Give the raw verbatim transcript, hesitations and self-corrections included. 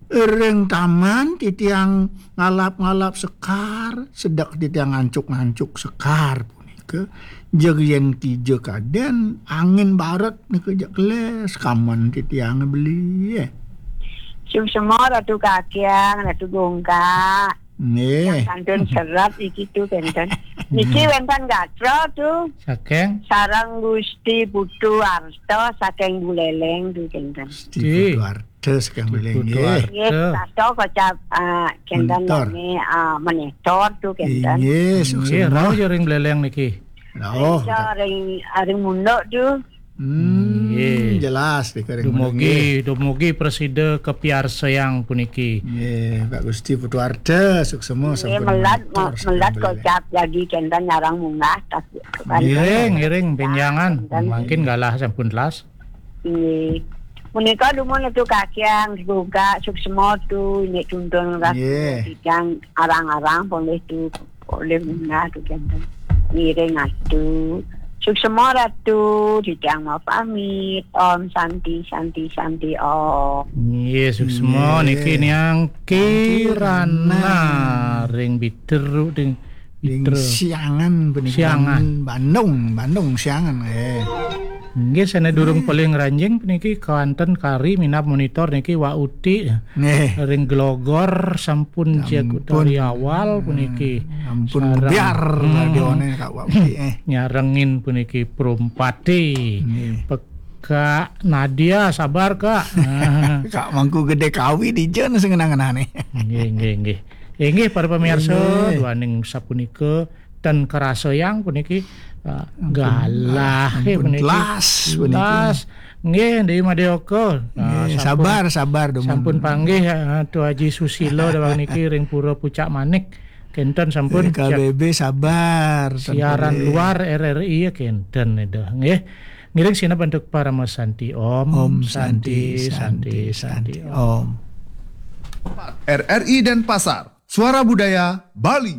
Ring taman titiang ngalap-ngalap sekar, sedek titiang ngancuk-ngancuk sekar punika, jeg yen kija kaden angin baret nika jeg keles kamen titiang beli. Suksema Ratu Kakyang, Ratu Gongkak. Nggih. Yang kantun serat iki tu kenten. Niki wenten gatra tu. Saking? Sareng Gusti Putu Arta saking Buleleng tu kenten. Gusti Putu Arta saking Buleleng, nggih. Nggih, Arta. Kasta kocap, ah, kenten Mentor. Nami, ah, Menetor tu kenten. Nggih, suksema. Nggih, rauh ya ring Buleleng niki. Rauh. Iya, ring, ring Munduk tu. Hmm, nggih. Jelas, nika ring Munduk, nggih. Dumugi, dumugi prasida kapiarsayang puniki. Nggih, Pak Gusti Putu Arta, suksema. Nggih, sampun melat, menetor, melat sampun kocap lagi kenten nyarang munggah, tapi ngiring, ngiring, benjangan. Kenten. Mangkin galah sampun telas. Nggih. Punika dumun Ratu Kakyang, semoga suksema tu, ini tuntun ras, nggih. Titiang arang-arang, polih tu, polih munggah tu, kenten. Ngiring atu. Suksema Ratu, titiang mau pamit. Om Santi, Santi, Santi, Om. Nggih, suksema. Nggih. Niki niang Kirana. Kirana ring Biteru, ring Ring Biteru. Siangan puniki. Siangan. Ban-, Bandung, Bandung Siangan, eh. Nggih, sane durung, hmm, paling ranjing puniki kawanten kari minab monitor niki Wak Uti. Nggih. Ring Glogor sampun, sampun, jak utari awal puniki. Hmm, ampun, sareng, ngebiar, hmm, radione Kak Wak Uti, eh. Nyarengin puniki Prumpati. Nggih. Pek-, Kak Nadia, sabar, Kak. Kak Mangku Gede Kawi dija sing ngenah-ngenahne. Nggih, nggih, nggih. Inggih, para pamirsa, nggih, duaning sapunika ten karasayang puniki, ah, ampun, galah, eh, ampun, puniki. Telas puniki. Telas. Nggih, Dewi Madyoka. Ah, nggih, sampun, sabar, sabar, dumun. Sampun panggih, ah, Tu Aji Susila dawang niki ring Pura Pucak Manik. Kenten sampun. Eh, K B B, sabar, siaran, sampun, eh, luar R R I ya kenten, dah. Nggih. Ngiring sineb antuk Parama Santi. Om, Om Santi, Santi, Santi, Santi, Santi, Santi, Om. Om. R R I Denpasar, Suara Budaya Bali.